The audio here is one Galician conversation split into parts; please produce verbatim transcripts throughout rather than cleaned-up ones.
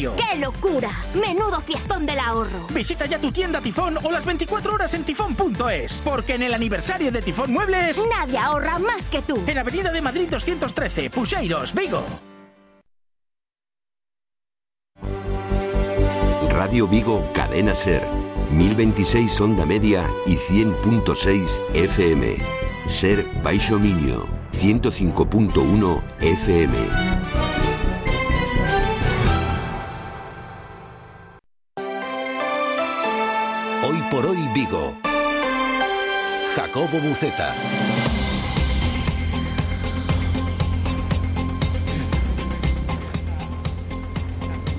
aniversario. ¡Qué locura! ¡Menudo fiestón del ahorro! Visita ya tu tienda Tifón o las veinticuatro horas en tifón punto es, porque en el aniversario de Tifón Muebles nadie ahorra más que tú. En Avenida de Madrid doscientos trece, Puxeiros, Vigo. Radio Vigo, Cadena Ser, mil veintiséis onda media y cien punto seis F M. Ser Baixo Miño, ciento cinco punto uno F M. Hoy por hoy Vigo. Jacobo Buceta.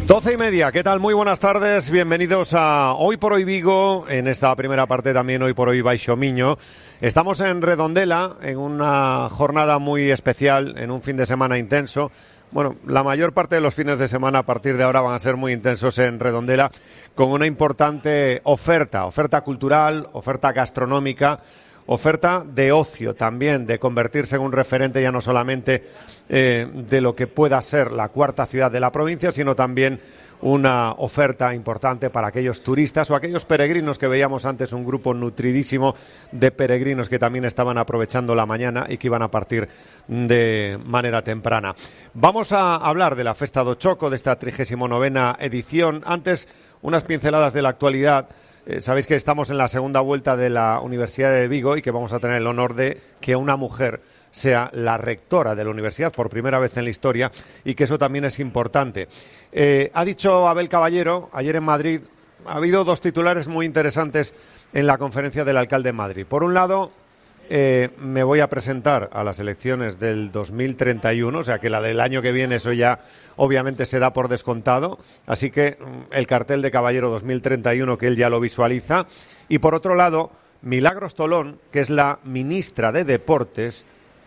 Doce y media, ¿qué tal? Muy buenas tardes, bienvenidos a Hoy por Hoy Vigo, en esta primera parte también Hoy por Hoy Baixo Miño. Estamos en Redondela, en una jornada muy especial, en un fin de semana intenso. Bueno, la mayor parte de los fines de semana a partir de ahora van a ser muy intensos en Redondela, con una importante oferta, oferta cultural, oferta gastronómica, oferta de ocio también, de convertirse en un referente ya no solamente eh, de lo que pueda ser la cuarta ciudad de la provincia, sino también una oferta importante para aquellos turistas o aquellos peregrinos que veíamos antes, un grupo nutridísimo de peregrinos que también estaban aprovechando la mañana y que iban a partir de manera temprana. Vamos a hablar de la Festa do Choco, de esta trigésima novena edición. Antes, unas pinceladas de la actualidad. Eh, sabéis que estamos en la segunda vuelta de la Universidad de Vigo y que vamos a tener el honor de que una mujer sea la rectora de la universidad por primera vez en la historia, y que eso también es importante. Eh, ha dicho Abel Caballero ayer en Madrid, ha habido dos titulares muy interesantes en la conferencia del alcalde en Madrid. Por un lado, eh, me voy a presentar a las elecciones del dos mil treinta y uno, o sea que la del año que viene eso ya obviamente se da por descontado, así que el cartel de Caballero dos mil treinta y uno que él ya lo visualiza. Y por otro lado, Milagros Tolón, que es la ministra de Deportes,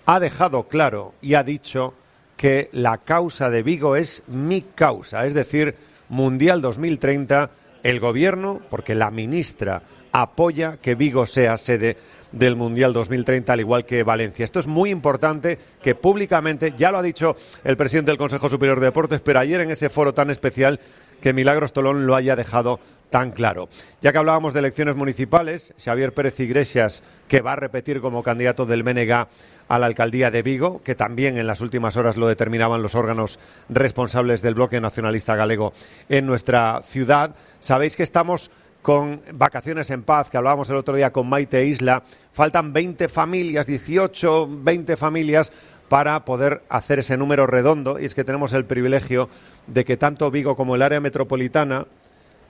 ha dejado claro y ha dicho que la causa de Vigo es mi causa, es decir, Mundial dos mil treinta, el gobierno, porque la ministra apoya que Vigo sea sede del Mundial dos mil treinta, al igual que Valencia. Esto es muy importante, que públicamente, ya lo ha dicho el presidente del Consejo Superior de Deportes, pero ayer en ese foro tan especial, que Milagros Tolón lo haya dejado tan claro. Ya que hablábamos de elecciones municipales, Xavier Pérez Iglesias, que va a repetir como candidato del B N G a la alcaldía de Vigo, que también en las últimas horas lo determinaban los órganos responsables del bloque nacionalista galego en nuestra ciudad. Sabéis que estamos con Vacaciones en Paz, que hablábamos el otro día con Maite Isla. Faltan veinte familias, dieciocho, veinte familias para poder hacer ese número redondo, y es que tenemos el privilegio de que tanto Vigo como el área metropolitana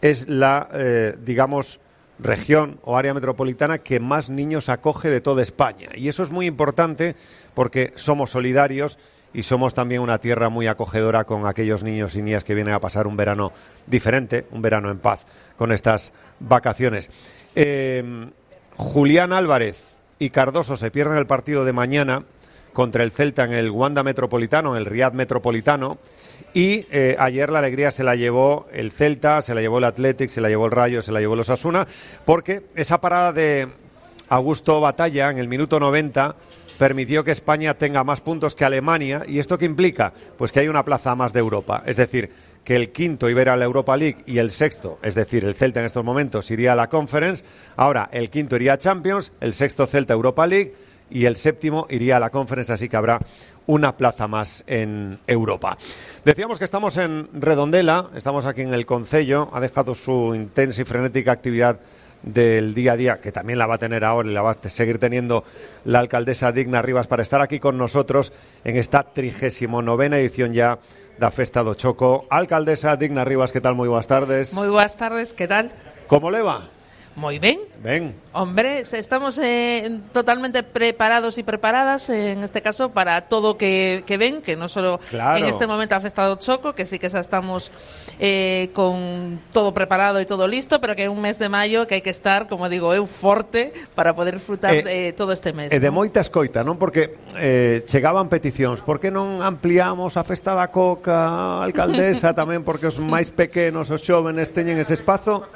es la, eh, digamos, región o área metropolitana que más niños acoge de toda España. Y eso es muy importante porque somos solidarios y somos también una tierra muy acogedora con aquellos niños y niñas que vienen a pasar un verano diferente, un verano en paz con estas vacaciones. Eh, Julián Álvarez y Cardoso se pierden el partido de mañana contra el Celta en el Wanda Metropolitano, en el Riad Metropolitano. Y eh, ayer la alegría se la llevó el Celta, se la llevó el Athletic, se la llevó el Rayo, se la llevó el Osasuna, porque esa parada de Augusto Batalla en el minuto noventa permitió que España tenga más puntos que Alemania. ¿Y esto qué implica? Pues que hay una plaza más de Europa. Es decir, que el quinto iba a ir a la Europa League y el sexto, es decir, el Celta en estos momentos, iría a la Conference. Ahora el quinto iría a Champions, el sexto Celta Europa League y el séptimo iría a la Conference, así que habrá una plaza más en Europa. Decíamos que estamos en Redondela, estamos aquí en el Concello, ha dejado su intensa y frenética actividad del día a día, que también la va a tener ahora y la va a seguir teniendo la alcaldesa Digna Rivas, para estar aquí con nosotros en esta trigésima novena edición ya da Festa do Choco. Alcaldesa Digna Rivas, ¿qué tal? Muy buenas tardes. Muy buenas tardes, ¿qué tal? ¿Cómo le va? Muy bien. Ven. Hombre, estamos eh, totalmente preparados y preparadas, eh, en este caso, para todo que, que ven, que no solo claro. En este momento ha Festa do Choco, que sí que ya estamos eh, con todo preparado y todo listo, pero que es un mes de mayo que hay que estar, como digo, eu forte para poder disfrutar eh, de todo este mes. E de ¿no? moita escoita, non? Porque eh, chegaban peticións. Por que non ampliamos a Festa da Coca, alcaldesa, tamén porque os máis pequenos, os xóvenes, teñen ese espazo?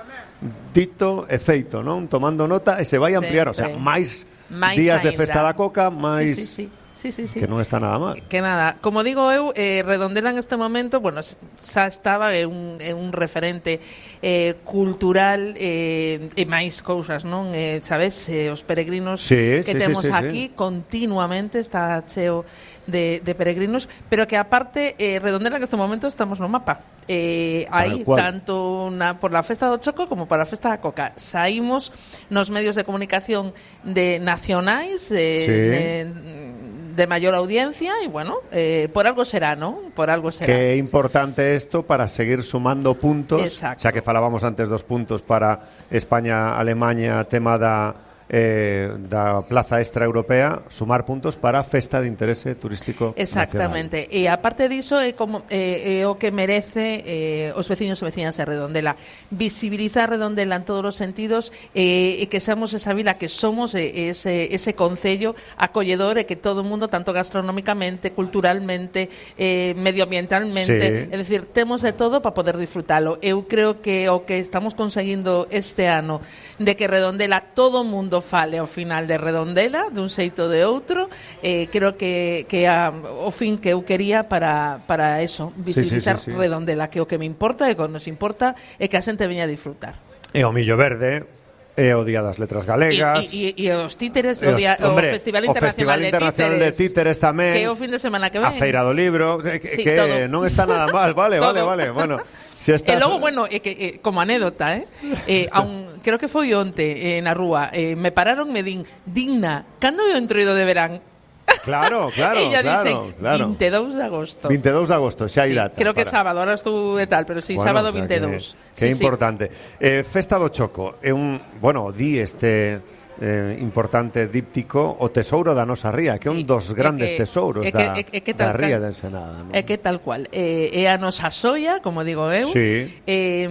Dito e feito, non? Tomando nota e se vai ampliar, o sea, máis, máis días ainda de Festa da Coca, máis... Sí, sí, sí. Sí, sí, sí. Que non está nada mal. Que nada, como digo eu, eh, Redondela en este momento, bueno, xa estaba é un, é un referente eh, cultural eh, e máis cousas, non? Eh, sabes, eh, os peregrinos sí, que sí, temos sí, sí, aquí sí. continuamente está cheo de, de peregrinos, pero que aparte eh, Redondela en este momento estamos no mapa. Eh, aí, tanto na, por la festa do Choco como por la festa da Coca. Saímos nos medios de comunicación de nacionais, de, sí. de de mayor audiencia y bueno, eh, por algo será, ¿no? Por algo será. Qué importante esto para seguir sumando puntos. Exacto. Xa que falábamos antes dos puntos para España, Alemania, tema da eh, da plaza extra europea, sumar puntos para festa de interese turístico exactamente nacional. E aparte diso é como eh, é o que merece eh, os veciños e veciñas de Redondela, visibilizar Redondela en todos os sentidos eh, e que seamos esa vila que somos, eh, ese, ese concello acolledor e que todo o mundo, tanto gastronómicamente, culturalmente, eh, medioambientalmente, sí. é dicir, temos de todo para poder disfrutalo. Eu creo que o que estamos conseguindo este ano de que Redondela, todo o mundo fale ao final de Redondela, dun xeito de outro, eh, creo que, que a, o fin que eu quería para, para eso, visibilizar sí, sí, sí, sí. Redondela, que o que me importa e que nos importa é que a xente veña a disfrutar. E o Millo Verde, e o Día das Letras Galegas, e, e, e os títeres, e o, día, hombre, o Festival o Internacional, Festival Internacional de, de Títeres tamén, que é o fin de semana que ven, a Feira do Libro, que, sí, que todo. non está nada mal, vale, vale, vale, bueno. Si estás... E logo, bueno, é que, eh, como anécdota, eh, eh, aun, creo que foi onte eh, na rúa, eh, me pararon, me din, digna, cando é o entroido de verán? Claro, claro, Ella claro, dicen, claro. vinte e dous de agosto. vinte e dous de agosto, xa hai sí, data. creo que para... sábado, ahora estou de tal, pero sí, bueno, sábado o sea, vinte e dous. Que, que sí, importante. Sí. Eh, Festa do Choco, é un, bueno, di este... Eh, importante díptico o tesouro da nosa ría, que é un dos grandes que, tesouros é que, da, é, é que da ría de Ensenada, ¿no? É que tal cual é, é a nosa soia, como digo eu, sí. é,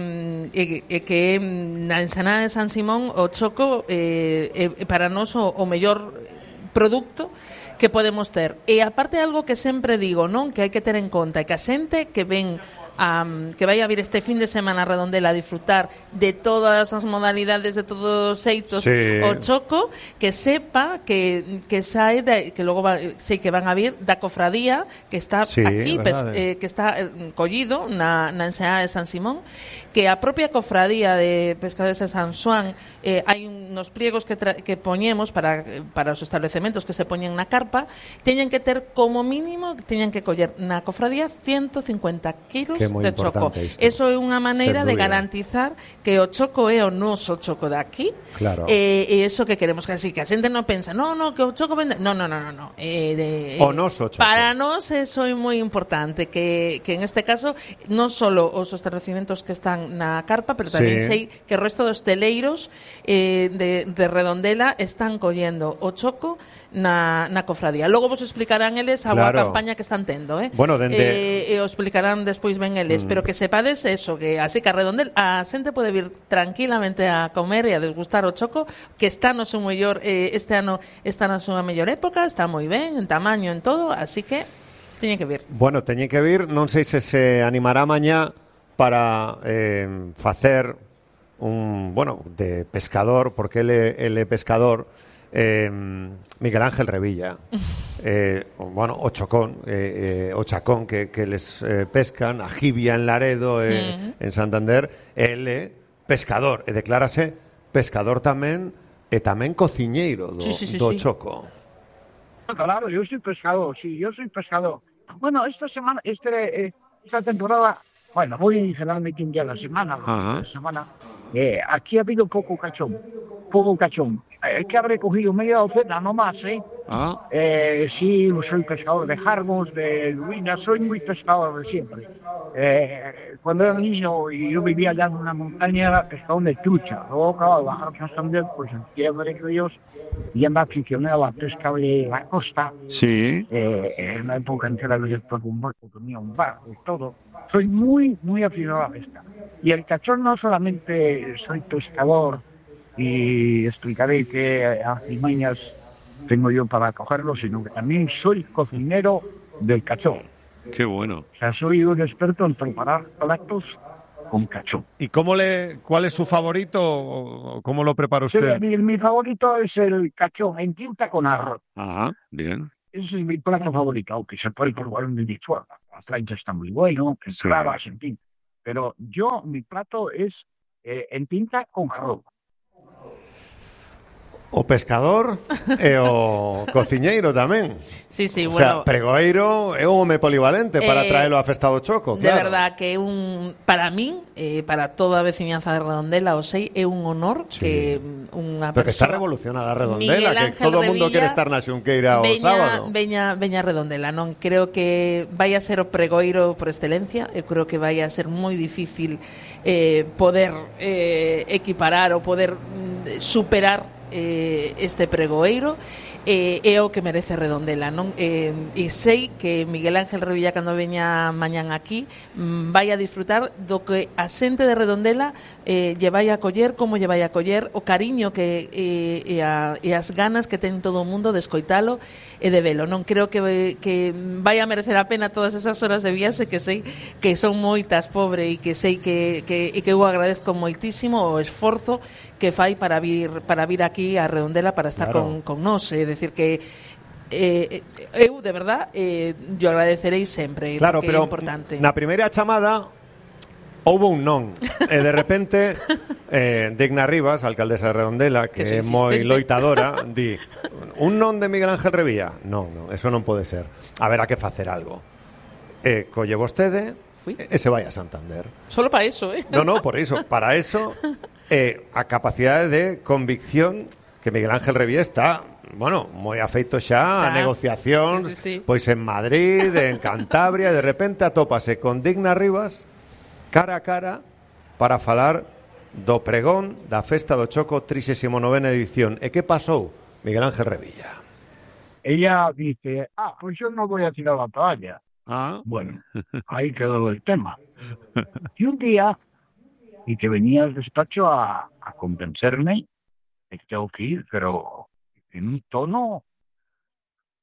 é, é que na Ensenada de San Simón o Choco é, é para nós o, o mellor produto que podemos ter. E aparte algo que sempre digo, non, que hai que ter en conta, é que a xente que ven Um, que vai a vir este fin de semana a Redondela a disfrutar de todas as modalidades, de todos os xeitos, sí. o Choco, que sepa que, que sae de, que logo va, sei que van a vir da cofradía que está sí, aquí, pes, eh, que está eh, collido na, na Ensenada de San Simón, que a propia cofradía de Pescadores de San Xoán eh, hai uns pliegos que, tra, que poñemos para, para os establecementos que se poñen na carpa, teñen que ter como mínimo, teñen que coller na cofradía ciento cincuenta kilos de Choco. Isto. Eso é unha maneira de garantizar que o Choco é o noso Choco de aquí. Claro. E eh, eso que queremos que así, que a xente non pensa, no, no, que o Choco vende... No, no, no, no. no. Eh, de, eh, o noso Choco. Para nós eso é moi importante, que, que en este caso non só os estabelecimentos que están na carpa, pero tamén sí. sei que o resto dos teleiros eh, de, de Redondela están collendo o Choco na, na cofradía. Logo vos explicarán eles a claro. boa campaña que están tendo, eh? Bueno, dende... eh, e os explicarán despois ben eles, mm. pero que sepades eso, que así que a Redondela a xente pode vir tranquilamente a comer e a desgustar o Choco, que está no seu mellor, eh, este ano está na súa mellor época, está moi ben, en tamaño, en todo, así que teñen que vir. Bueno, teñen que vir, non sei se se animará mañá para eh, facer un, bueno, de pescador, porque ele, ele pescador, eh, Miguel Ángel Revilla, eh, bueno, o Chocón, eh, eh, o Chacón que, que les eh, pescan, a Jibia en Laredo, eh, mm. en Santander, ele pescador, e declárase pescador tamén, e tamén cociñeiro do, sí, sí, sí, do sí. Choco. Claro, yo soy pescador, sí, yo soy pescador. Bueno, esta semana, este, eh, esta temporada, bueno, voy generalmente un día a la semana, a la semana. Eh, aquí ha habido poco cachón, poco cachón. Es que habré cogido media docena, no más, ¿eh? Ah. Eh, sí, soy pescador de jarbos, de lubinas, soy muy pescador de siempre. Eh, cuando era niño y yo vivía allá en una montaña, era pescador de trucha. Luego, claro, al bajar a Santander, pues en tierra de ríos, y me aficioné a la pesca de la costa. Sí. Eh, en una época entera yo después un barco, tenía un barco y todo. Soy muy, muy aficionado a la pesca. Y el cachón no solamente soy pescador, y explicaré qué artimañas tengo yo para cogerlo, sino que también soy cocinero del cachón. Qué bueno. O sea, soy un experto en preparar platos con cachón. ¿Y cómo le, cuál es su favorito o cómo lo prepara usted? Sí, mi, mi favorito es el cachón en tinta con arroz. Ajá, bien. ese es mi plato favorito, aunque se puede probar en individual. La plancha está muy bueno, en Sí. clavas, en fin. Pero yo, mi plato es eh, en tinta con jarrón. O pescador e o cociñeiro tamén. Sí, sí, O sea, bueno, pregoeiro é un home polivalente para Eh, traelo a Festa do Choco, de claro. verdad que un para min, eh, para toda a veciñanza de Redondela, o sei, é un honor Sí. que mm, unha Pero que está persoa revolucionada a Miguel Redondela, que Ángel todo o mundo Revilla quere estar na Xunqueira o veña, sábado. Veña, veña a Redondela, non? Creo que vai a ser o pregoiro por excelencia. Eu creo que vai a ser moi difícil eh, poder eh, equiparar ou poder mm, superar eh, este pregoeiro. Eh, é o que merece Redondela, non? Eh, e sei que Miguel Ángel Revilla, cando veña mañán aquí, mm, vai a disfrutar do que a xente de Redondela eh, lle vai a coller, como lle vai a coller, o cariño que eh, e, a, e as ganas que ten todo o mundo de escoitalo e de velo, non? Creo que, que vai a merecer a pena todas esas horas de viaxe, que sei que son moitas, pobre, e que sei que, que, e que eu agradezco moitísimo o esforzo que fai para vir para vir aquí a Redondela para estar Claro. con, con nós, é dicir que eh, eu de verdad eh, yo agradecerei sempre, Claro, porque pero é importante. na primeira chamada houve un non. E de repente eh, Digna Rivas, alcaldesa de Redondela, que, Que é soy moi insistente. loitadora, di: un non de Miguel Ángel Revilla? Non, non, eso non pode ser. Haberá que facer algo. E colle vostede Fui. e se vai a Santander. Solo para eso, eh. No, no, por iso, para eso eh, a capacidade de convicción que Miguel Ángel Revilla está, bueno, moi afeito xa a Xa. negociacións, Sí, sí, sí. pois en Madrid, en Cantabria, de repente atópase con Digna Rivas cara a cara para falar do pregón da Festa do Choco trixésima novena edición. E que pasou, Miguel Ángel Revilla? Ella dice, ah, pues yo no voy a tirar la toalla. Ah, Bueno, ahí quedó el tema. Y un día, y que venía al despacho a, a convencerme de que tengo que ir, pero en un tono,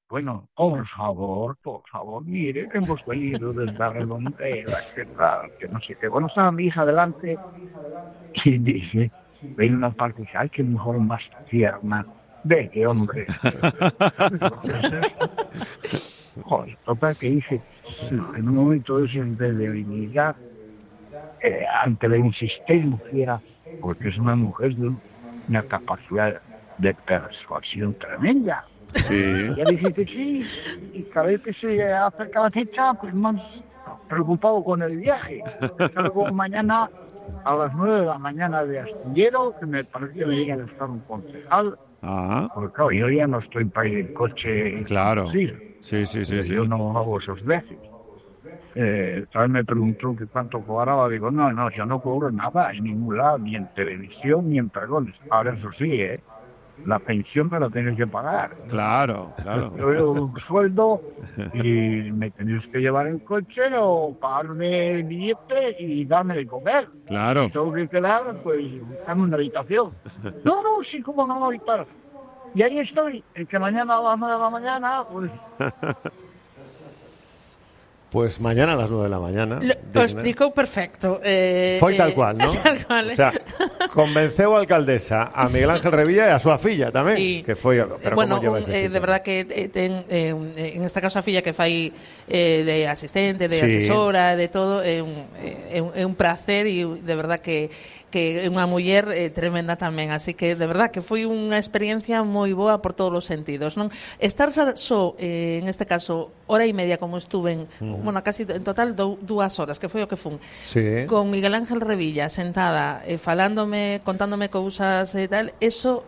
bueno, por favor, por favor, mire, que hemos venido desde la Redondela, que tal, que no sé qué. Bueno, estaba mi hija delante y dice, ve una parte y dice, ay, qué mujer más tierna. Ve, qué hombre. Joder, total que dice, en un momento de ese de debilidad, eh, ante la insistencia, porque es una mujer de una capacidad de persuasión tremenda. sí. Y ella dice que sí, y cada vez que se acerca la fecha, pues más preocupado con el viaje. Salgo mañana a las nueve de la mañana de Astillero, que me parece que me llega a estar un concejal, Ah, porque claro, yo ya no estoy para ir en coche. claro. Sí, Sí, sí, sí, sí. yo no hago esos viajes. Eh, tal vez me preguntó que cuánto cobraba, digo, no, no, yo no cobro nada en ningún lado, ni en televisión, ni en pregones. Ahora eso sí, ¿eh? La pensión me la tienes que pagar. Claro, claro. Yo veo un sueldo y me tenéis que llevar en coche o pagarme el billete y darme de comer. Claro. Tengo que quedar, pues, buscando una habitación. No, no, sí, como no, y tal. Y ahí estoy, el que mañana a las nueve de la mañana, pues, Pues mañana a las nueve de la mañana. Lo, Digna. o explicou perfecto. Eh, Foi tal eh, cual, ¿no? Tal cual. O sea, convenceu a alcaldesa a Miguel Ángel Revilla e a súa filla tamén, Sí. que foi, pero bueno, como lleva un, ese eh, ciclo? de verdad que eh, ten eh, un- eh, en este caso a filla que fai eh, de asistente, de Sí. asesora, de todo, é un, é un, é un placer e de verdad que que é unha muller eh, tremenda tamén, así que de verdad que foi unha experiencia moi boa por todos os sentidos, non? Estar xa só eh, en este caso hora e media como estuve en, bueno, casi en total dou, dúas horas, que foi o que fun. Sí. Con Miguel Ángel Revilla sentada, eh, falándome, contándome cousas e tal, eso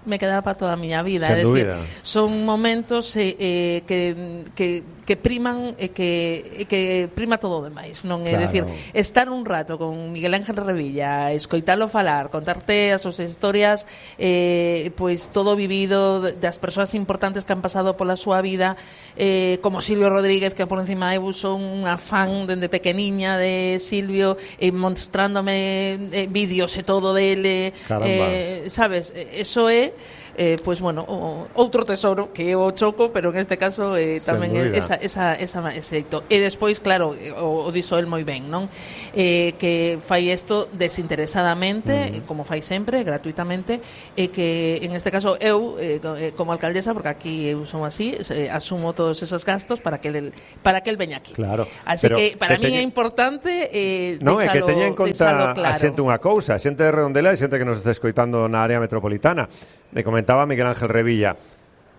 me quedaba para toda a miña vida. Sen É dicir, dúbida. son momentos eh, eh, que, que, que priman e que, e que prima todo o demais, non? É Claro. dicir, estar un rato con Miguel Ángel Revilla, escoitalo falar, contarte as súas historias, eh, pois todo o vivido das persoas importantes que han pasado pola súa vida, eh, como Silvio Rodríguez, que por encima eu son unha fan dende pequeniña de Silvio, e eh, mostrándome eh, vídeos e todo dele, Caramba. eh, sabes, eso é eh, pois, bueno, o, outro tesouro que é o choco, pero en este caso eh, tamén é esa, esa, esa, ese xeito. E despois, claro, o, o dixo el moi ben, non? Eh, que fai isto desinteresadamente, mm. como fai sempre, gratuitamente, e que en este caso eu, eh, como alcaldesa, porque aquí eu son así, eh, asumo todos esos gastos para que el, para que el veña aquí. Claro. Así pero que para que mí teñe... é importante eh, non, é que teña en conta claro. a xente unha cousa, a xente de Redondela e xente que nos está escoitando na área metropolitana. Me comentaba Miguel Ángel Revilla,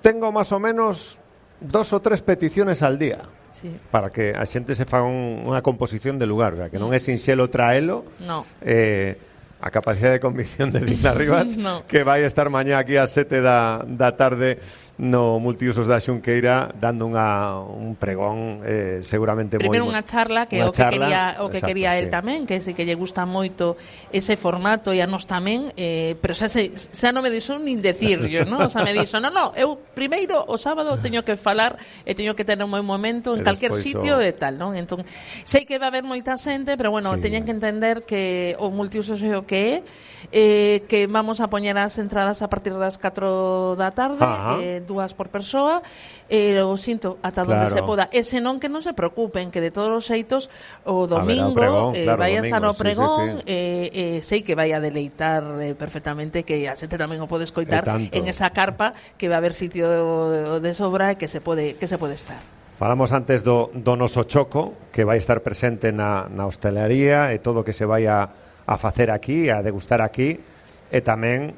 tengo máis ou menos dos ou tres peticiones al día. Sí. Para que a xente se faga un, unha composición de lugar, o sea, que non é sinxelo traelo. No. Eh, a capacidade de convicción de Dina Rivas no. que vai estar mañá aquí ás sete da, da tarde no Multiusos da Xunqueira dando unha, un pregón eh, seguramente moi... Primeiro unha charla que unha o que charla, quería o que exacto, quería sí. el tamén, que sei que lle gusta moito ese formato e a nos tamén, eh, pero xa se, xa non me dixo nin decirlo, ¿no? O sea, me dixo, "No, no, eu primeiro o sábado teño que falar e teño que ter un moi momento en calquer sitio e tal, non?" Entón, sei que va a haber moita xente, pero bueno, sí. teñen que entender que o Multiusos é o que é. Eh, que vamos a poñer as entradas a partir das catro da tarde, eh, dúas por persoa, e eh, o sinto ata claro. onde se poda. E senón que non se preocupen, que de todos os xeitos o domingo pregón, eh, claro, vai a estar o sí, sí, sí. pregón, eh, eh, sei que vai a deleitar eh, perfectamente, que a xente tamén o pode escoitar en esa carpa, que va a haber sitio de, de sobra e que se pode que se pode estar. Falamos antes do, do noso choco, que vai estar presente na, na hostelería e todo o que se vai a a facer aquí, a degustar aquí, e tamén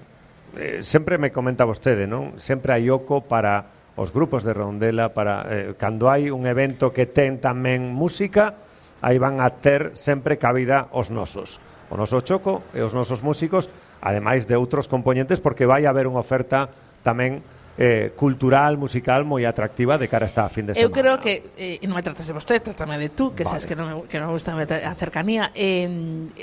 eh, sempre me comenta vostede, non? Sempre hai oco para os grupos de Redondela, para eh, cando hai un evento que ten tamén música, aí van a ter sempre cabida os nosos. O noso choco e os nosos músicos, ademais de outros componentes, porque vai haber unha oferta tamén Eh, cultural, musical moi atractiva de cara a esta fin de semana. Eu creo que, eh, non me tratas de vostede, trátame de tú, que vale. Sabes que non me, que non me gusta a cercanía. Eh,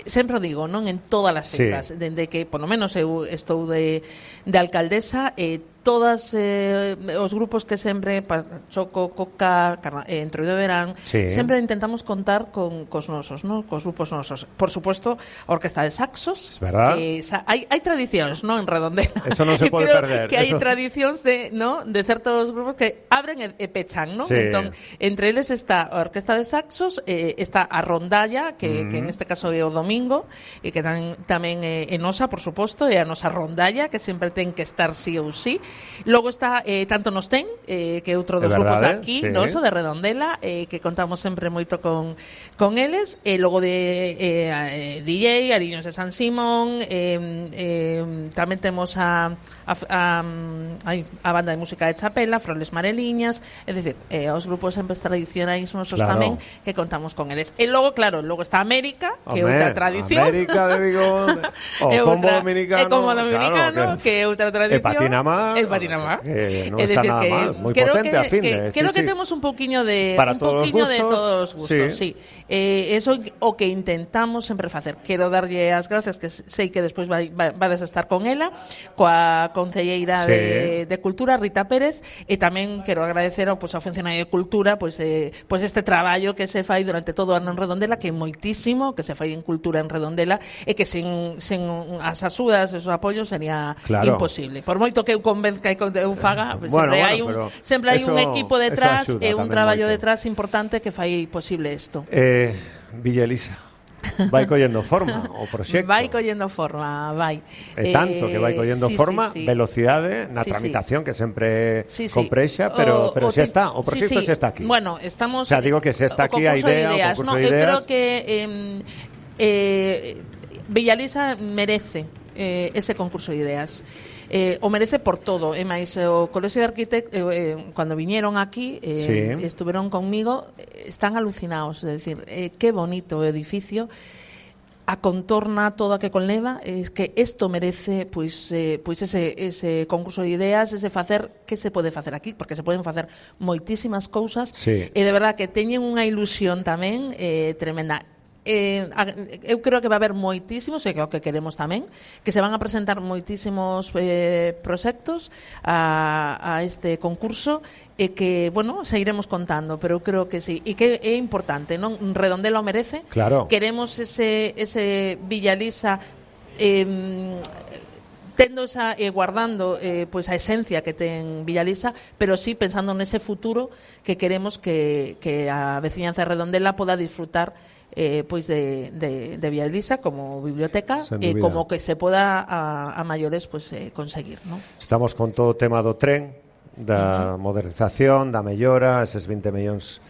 sempre o digo, non en todas as festas, sí. Dende que, por lo menos, eu estou de, de alcaldesa, eh, todas eh, os grupos que sempre pa, Choco, Coca, Carna, eh, Entroido de Verán, sí. Sempre intentamos contar con cos nosos, ¿no? Cos grupos nosos. Por supuesto, a Orquesta de Saxos, es verdad. Que sa, hai, hai tradicións, ¿no? En Redondela. Eso non se pode Creo perder. Que hai Eso... tradicións de, ¿no? De certos grupos que abren e, e pechan, ¿no? Sí. Entón, entre eles está a Orquesta de Saxos, eh, está a Rondalla, que, mm. que en este caso é o domingo, e que tamén, tamén é, é nosa, por suposto, é a nosa Rondalla, que sempre ten que estar sí ou sí. Logo está eh, Tanto Nos Ten, eh, que é outro dos grupos de aquí, sí. Noso, de Redondela, eh, que contamos sempre moito con, con eles. E logo de eh, D J, Ariños de San Simón, eh, eh, tamén temos a, a, a, a, a banda de música de Chapela, Froles Mareliñas, é dicir, eh, os grupos sempre tradicionais nosos claro. Tamén, que contamos con eles. E logo, claro, logo está América, que é outra tradición. América de Vigo, o Combo Dominicano, é Combo Dominicano, claro, que é outra tradición. E Patinamá. E Patinamá. Que non é está decir, nada que mal, moi creo potente que, a fin que, de, creo sí, que sí. temos un poquinho de para un todos poquinho os de gustos, todos os gustos, sí. sí. Eh, eso o que intentamos sempre facer. Quero darlle as gracias, que sei que despois vai, vai, vades a estar con ela, coa concelleira sí. de, de Cultura, Rita Pérez, e tamén quero agradecer ao, pues, ao funcionario de Cultura, pues, eh, pues este traballo que se fai durante todo o ano en Redondela, que é moitísimo, que se fai en Cultura en Redondela, e que sen, sen as axudas, esos apoios sería claro. imposible. Por moito que eu convenzca e que eu faga, pues, bueno, sempre bueno, hai un sempre hai un equipo detrás e un traballo moito. detrás importante que fai posible isto. Eh, Villa Elisa, vai collendo forma o proxecto. Vai collendo forma, vai. E tanto que vai collendo sí, forma, sí, sí. velocidade na sí, tramitación sí. que sempre sí, sí. comprexa, pero, o, pero o xa te... está, o proxecto sí, sí. xa está aquí. Bueno, estamos... O sea, digo que xa está aquí a idea, ideas. o concurso no, de ideas. Eu creo que eh, eh, Villa Elisa merece eh, ese concurso de ideas. Eh, o merece por todo, e máis o Colexio de Arquitectos eh, eh, cando viñeron aquí eh, sí. estuveron conmigo, están alucinados, é dicir, eh, que bonito o edificio, a contorna toda que conleva, es que isto merece pois eh, pois ese ese concurso de ideas, ese facer que se pode facer aquí, porque se poden facer moitísimas cousas, sí. e de verdad que teñen unha ilusión tamén eh, tremenda. Eh, eu creo que va a haber moitísimos, e que é o que queremos tamén, que se van a presentar moitísimos eh, proxectos a, a este concurso, e que, bueno, se iremos contando, pero eu creo que sí, e que é importante, non? Redondela o merece, claro. Queremos ese, ese Villa Elisa eh, tendo esa, eh, guardando eh, pues a esencia que ten Villalisa, pero sí pensando nese futuro que queremos que, que a veciñanza de Redondela poda disfrutar eh, pois de, de, de Villalisa como biblioteca e eh, como que se poda a, a maiores pues, eh, conseguir, ¿no? Estamos con todo o tema do tren, da uh-huh. modernización, da mellora, eses vinte millóns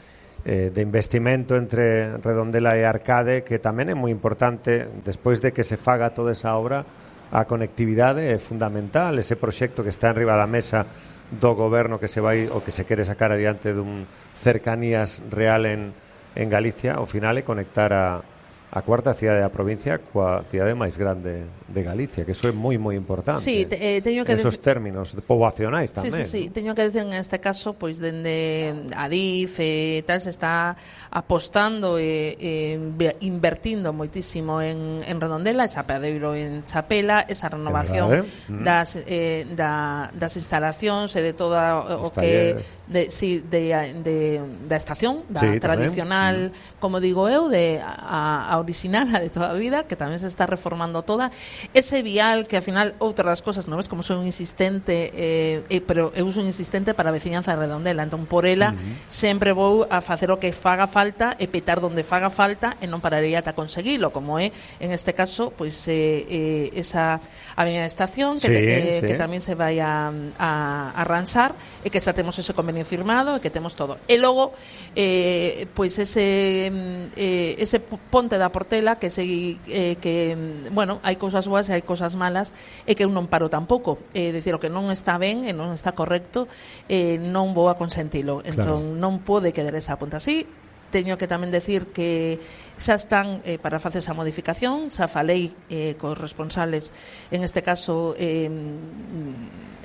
eh, de investimento entre Redondela e Arcade, que tamén é moi importante despois de que se faga toda esa obra. A conectividade é fundamental, ese proxecto que está enriba da mesa do goberno que se vai o que se quere sacar adiante dun cercanías real en, en Galicia, ao final é conectar a, a cuarta cidade da provincia coa cidade máis grande de Galicia, que eso é moi moi importante. Sí, te, eh, teño que esos términos poboacionais tamén. Sí, sí, sí, ¿no? teño que decir en este caso, pois dende Adif e eh, tal se está apostando e eh, eh, invertindo moitísimo en, en Redondela, Chapadeiro en Chapela, esa renovación mm. das eh, da, das instalacións e de toda o que de, sí, de, de, da estación, da sí, tradicional, mm. como digo eu, de a, a original, a de toda a vida, que tamén se está reformando toda. Ese vial que, ao final, outras das cosas, non ves como son un insistente, eh, eh, pero eu uso un insistente para a veciñanza de Redondela, entón por ela uh-huh. sempre vou a facer o que faga falta e petar donde faga falta e non pararei ata conseguilo, como é, en este caso, pois eh, eh, esa avenida de estación que, sí, eh, sí. que tamén se vai a, a, a arranxar e que xa temos ese convenio firmado e que temos todo. E logo, eh, pois ese eh, ese ponte da Portela que se, eh, que, bueno, hai cousas boas e hai cousas malas e que eu non paro tampouco, é dicir, o que non está ben e non está correcto, eh, non vou a consentilo, entón claro. non pode quedar esa punta así. Teño que tamén decir que xa están eh, para facer esa modificación, xa falei eh, cos responsables, en este caso eh,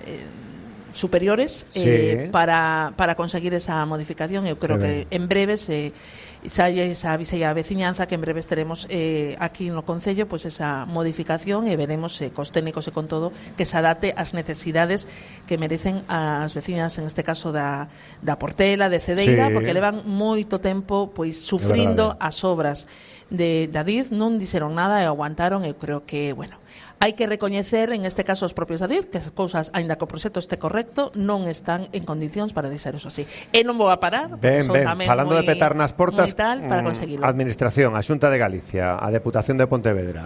eh, superiores sí. eh, para, para conseguir esa modificación. Eu creo que en breves eh, xa esa avisei a veciñanza que en breves teremos eh, aquí no Concello pois esa modificación e veremos eh, cos técnicos e con todo que se adapte ás necesidades que merecen as veciñas, en este caso da, da Portela, de Cedeira, sí. porque levan moito tempo pois sufrindo as obras de Adif, non dixeron nada e aguantaron. Eu creo que, bueno, hai que recoñecer, en este caso, os propios Adif, que as cousas, aínda que o proxecto este correcto, non están en condicións para deixar eso así. E non vou a parar, ben, ben, falando moi, de petar nas portas, tal, para conseguirlo. Administración, a Xunta de Galicia, a Deputación de Pontevedra,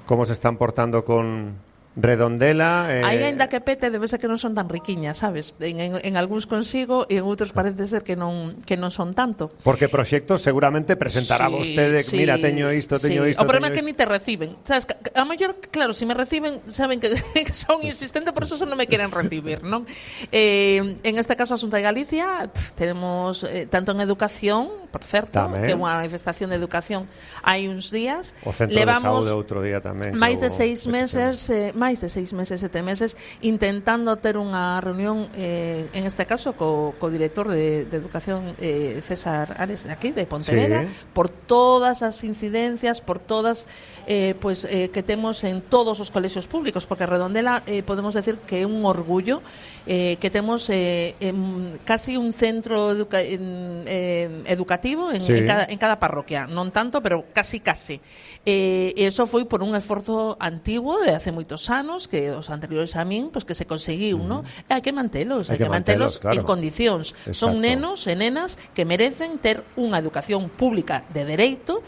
como se están portando con Redondela? Eh... Aí, ainda que pete, debe ser que non son tan riquiñas, sabes? En, en, en algúns consigo e en outros parece ser que non que non son tanto. Porque proxectos seguramente presentará sí, vostede, sí, mira, teño isto, teño sí. isto. O problema é que isto. ni te reciben. Sabes, a mellor, claro, si me reciben, saben que, que son insistentes, por eso non me queren recibir, non? Eh, en este caso, a Xunta de Galicia, pff, tenemos eh, tanto en educación, por certo, tamén. Que é unha manifestación de educación hai uns días. O Centro Levamos de Saúde outro día tamén. máis de seis meses, eh, máis de seis meses, sete meses, intentando ter unha reunión, eh, en este caso, co, co director de, de Educación, eh, César Ares, de aquí, de Pontevedra, sí. por todas as incidencias, por todas, eh, pues, eh, que temos en todos os colexios públicos, porque Redondela, eh, podemos decir que é un orgullo, eh, que temos eh, en, casi un centro educa en, eh, educativo en, sí. en, cada, en cada parroquia, non tanto, pero casi casi. Eh, e iso foi por un esforzo antigo de hace moitos anos que os anteriores a min, pues que se conseguiu, uh -huh. ¿no? E hai que mantelos, hai que, que mantelos, mantelos claro. en condicións. Exacto. Son nenos e nenas que merecen ter unha educación pública de dereito,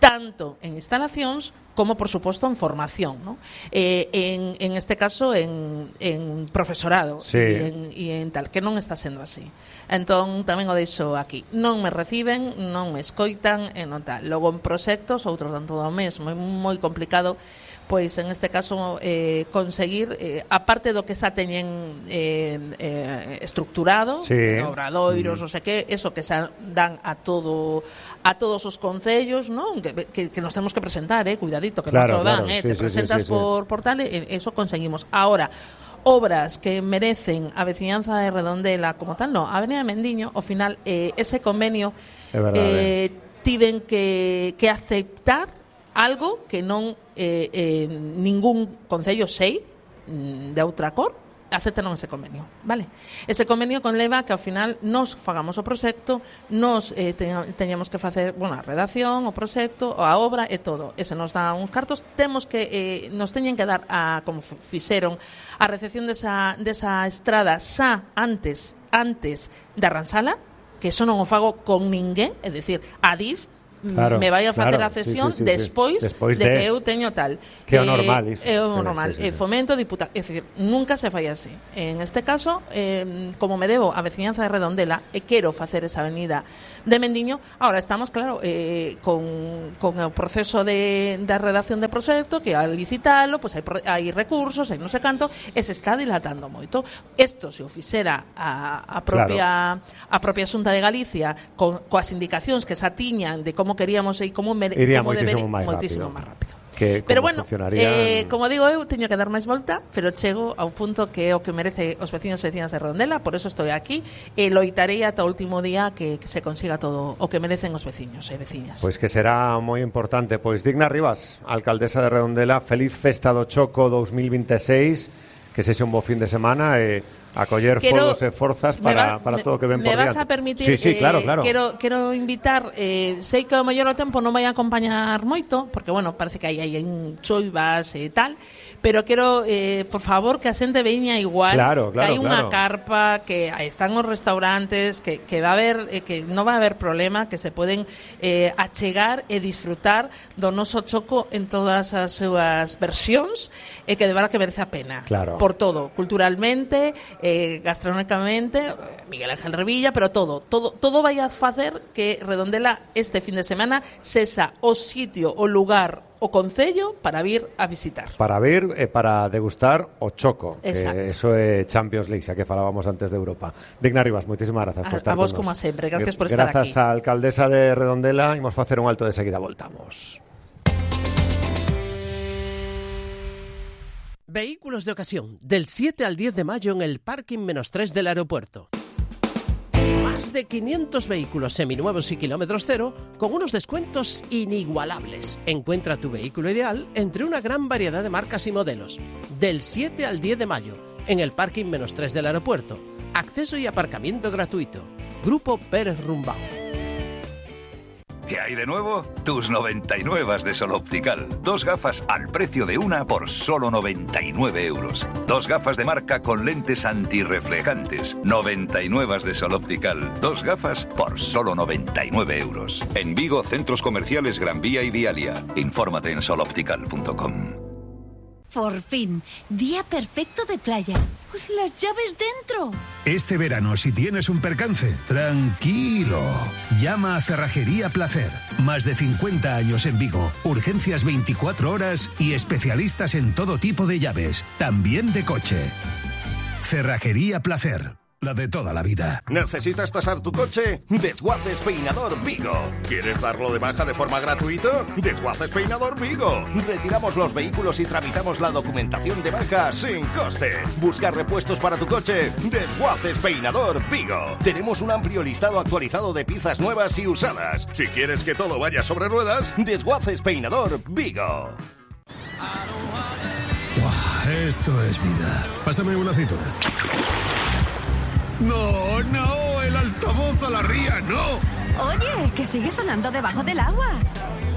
tanto en instalacións como, por suposto, en formación, ¿no? Eh, en, en este caso, en, en profesorado sí. e, en, e en tal, que non está sendo así. Entón, tamén o deixo aquí. Non me reciben, non me escoitan, e non tal. Logo, en proxectos, outro tanto do mesmo, é moi complicado, pois, en este caso, eh, conseguir, eh, aparte do que xa teñen eh, eh, estructurado, sí. obradoiros, mm. o sea que, eso que xa dan a todo a todos os concellos, non? Que, que, que nos temos que presentar, eh, cuidadito, que claro, non te dan, claro. eh, sí, te sí, presentas sí, sí, por sí. portal e eso conseguimos. Ahora, obras que merecen a veciñanza de Redondela como tal, no, a Avenida Mendiño, ao final, eh, ese convenio eh, tiven que, que aceptar algo que non eh, eh, ningún concello sei de outra cor aceptaron ese convenio, vale? Ese convenio conleva que ao final nos fagamos o proxecto, nos eh, teñamos que facer, bueno, a redacción, o proxecto, a obra e todo. E se nos dan uns cartos, temos que eh, nos teñen que dar a como fixeron a recepción desa desa estrada xa antes antes da arranxala, que eso non o fago con ninguén, é dicir, a D I F Claro, me vai a facer claro, a cesión sí, sí, sí, despois, sí. despois de, de que eu teño tal. Que é o normal, iso. É o normal. Sí, sí, sí, sí. Fomento diputado, é dicir, nunca se fai así. En este caso, eh, como me debo a veciñanza de Redondela e quero facer esa avenida de Mendiño, ahora estamos, claro, eh, con, con o proceso de, de redacción de proxecto, que al licitalo, pues hai, hai recursos, hai non sei canto, e se está dilatando moito. Isto se o fixera a, a propia claro. a propia Xunta de Galicia con, coas indicacións que xa tiñan de como queríamos e como, mere, Iría como moitísimo debería, máis moitísimo rápido. máis rápido. Que Pero bueno, funcionaría... eh, como digo eu, teño que dar máis volta, pero chego ao punto que é o que merece os veciños e veciñas de Redondela, por eso estou aquí, e loitarei ata o último día que, que se consiga todo o que merecen os veciños e veciñas. Pois que será moi importante. Pois Digna Rivas, alcaldesa de Redondela, feliz festa do Choco dos mil veintiséis, que sexa un bo fin de semana e a coller Quero, foros e forzas para, va, para todo o que ven por diante. Me vas a permitir, sí, sí, claro, eh, claro. Quero, quero invitar, eh, sei que o mellor o tempo non vai a acompañar moito, porque, bueno, parece que hai, hai en choivas e tal, pero quero, eh, por favor, que a xente veña igual, claro, claro, que hai unha claro. carpa, que aí están os restaurantes, que, que va a haber, eh, que non va a haber problema, que se poden eh, achegar e disfrutar do noso Choco en todas as súas versións, e que de verdad que merece a pena. Claro. Por todo, culturalmente, eh, gastronómicamente, Miguel Ángel Revilla, pero todo, todo, todo vai a facer que Redondela este fin de semana sexa o sitio, o lugar, o concello para vir a visitar. Para vir e para degustar o Choco. Exacto. Que eso é Champions League, xa que falábamos antes de Europa. Digna Rivas, moitísimas grazas A, por estar a vos con como nos. sempre, gracias por estar Grazas aquí. á alcaldesa de Redondela, imos facer un alto de seguida, voltamos. Vehículos de ocasión, del siete al diez de mayo en el parking menos tres del aeropuerto. Más de quinientos vehículos seminuevos y kilómetros cero con unos descuentos inigualables. Encuentra tu vehículo ideal entre una gran variedad de marcas y modelos. Del siete al diez de mayo en el parking menos tres del aeropuerto. Acceso y aparcamiento gratuito. Grupo Pérez Rumbao. ¿Qué hay de nuevo? Tus noventa y nueve de Sol Optical. Dos gafas al precio de una por solo noventa y nueve euros. Dos gafas de marca con lentes antirreflejantes. noventa y nueve de Sol Optical. Dos gafas por solo noventa y nueve euros. En Vigo, centros comerciales Gran Vía y Vialia. Infórmate en sol optical punto com. Por fin, día perfecto de playa. Pues las llaves dentro. Este verano, si tienes un percance, tranquilo. Llama a Cerrajería Placer. Más de cincuenta años en Vigo. Urgencias veinticuatro horas y especialistas en todo tipo de llaves, también de coche. Cerrajería Placer. La de toda la vida. ¿Necesitas tasar tu coche? Desguaces Peinador Vigo. ¿Quieres darlo de baja de forma gratuita? Desguaces Peinador Vigo. Retiramos los vehículos y tramitamos la documentación de baja sin coste. ¿Buscar repuestos para tu coche? Desguaces Peinador Vigo. Tenemos un amplio listado actualizado de piezas nuevas y usadas. Si quieres que todo vaya sobre ruedas, Desguaces Peinador Vigo. Wow, esto es vida. Pásame una aceituna. No, no, el altavoz a la ría, no. Oye, que sigue sonando debajo del agua.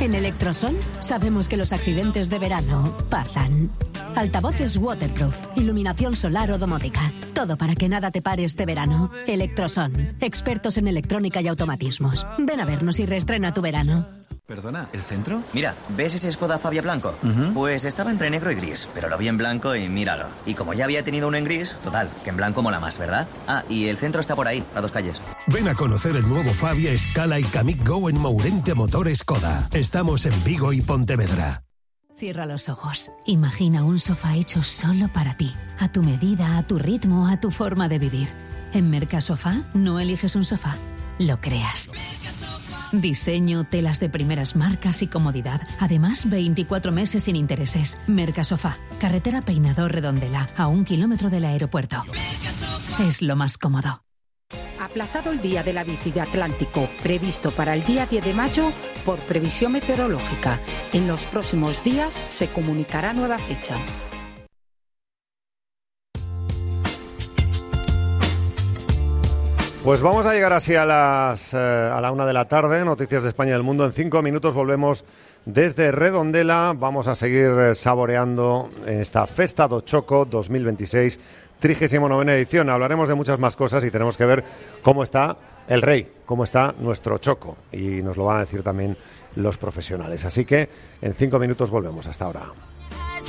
En Electrosol sabemos que los accidentes de verano pasan. Altavoces waterproof, iluminación solar o domótica. Todo para que nada te pare este verano. Electrosol, expertos en electrónica y automatismos. Ven a vernos y reestrena tu verano. Perdona, ¿el centro? Mira, ¿ves ese Skoda Fabia blanco? Uh-huh. Pues estaba entre negro y gris, pero lo vi en blanco y míralo. Y como ya había tenido uno en gris, total, que en blanco mola más, ¿verdad? Ah, y el centro está por ahí, a dos calles. Ven a conocer el nuevo Fabia, Scala y Kamiq Go en Mourente Motor Skoda. Estamos en Vigo y Pontevedra. Cierra los ojos. Imagina un sofá hecho solo para ti. A tu medida, a tu ritmo, a tu forma de vivir. En Mercasofá no eliges un sofá, lo creas. Diseño, telas de primeras marcas y comodidad. Además, veinticuatro meses sin intereses. Mercasofá, carretera Peinador Redondela, a un kilómetro del aeropuerto. Es lo más cómodo. Aplazado el Día de la Bici de Atlántico, previsto para el día diez de mayo por previsión meteorológica. En los próximos días se comunicará nueva fecha. Pues vamos a llegar así a las eh, a la una de la tarde, noticias de España y del mundo. En cinco minutos volvemos desde Redondela. Vamos a seguir eh, saboreando esta Festa do Choco dos mil veintiséis, trigésima novena edición. Hablaremos de muchas más cosas y tenemos que ver cómo está el rey, cómo está nuestro choco. Y nos lo van a decir también los profesionales. Así que en cinco minutos volvemos. Hasta ahora.